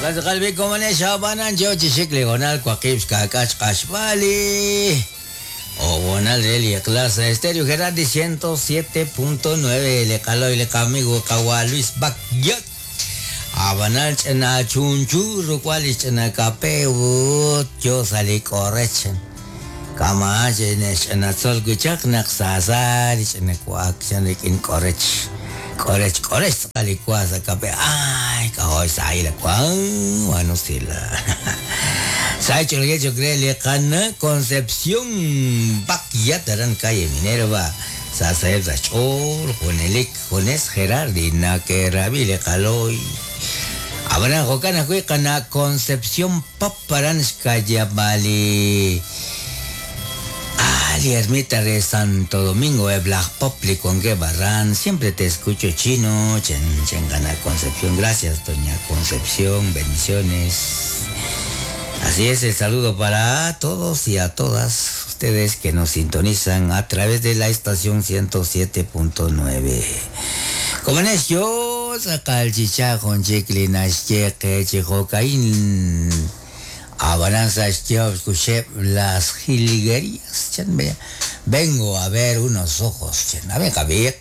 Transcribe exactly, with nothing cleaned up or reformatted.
Qalbi komane xabanan yo chixik li honal waqib xkak'ach q'axb'ali o bonal reli clase Estéreo Gerardi ciento siete punto nueve le caloy le amigo kawa Luis Bakyat abanal ch'ina chunchu rukwal ch'ina kape ut yo sali korech kama ch'ina ch'ina tzol kuchaq naq sasa ch'ina kuak chan rikin korech korech korech tz'aqal kwa sa kape ay kahoy sa ila kwa bueno sila Sa hecho el hecho cree le cana Concepción Bakyat aran calle Minerva sa sa sa chor Juanelik Jones Gerardi na que rabile caloy Abran jokana kui kana Concepción Paparan Bali Ali ermita de Santo Domingo de Black Popli con que barran siempre te escucho chino chen chen gana Concepción. Gracias, doña Concepción, bendiciones. Así es, el saludo para todos y a todas ustedes que nos sintonizan a través de la estación ciento siete punto nueve. Como es yo, sacal chichajón, chiclinas, cheque, chijocaín, abalanza, las jilguerías, vengo a ver unos ojos, chen, a ver, cabik.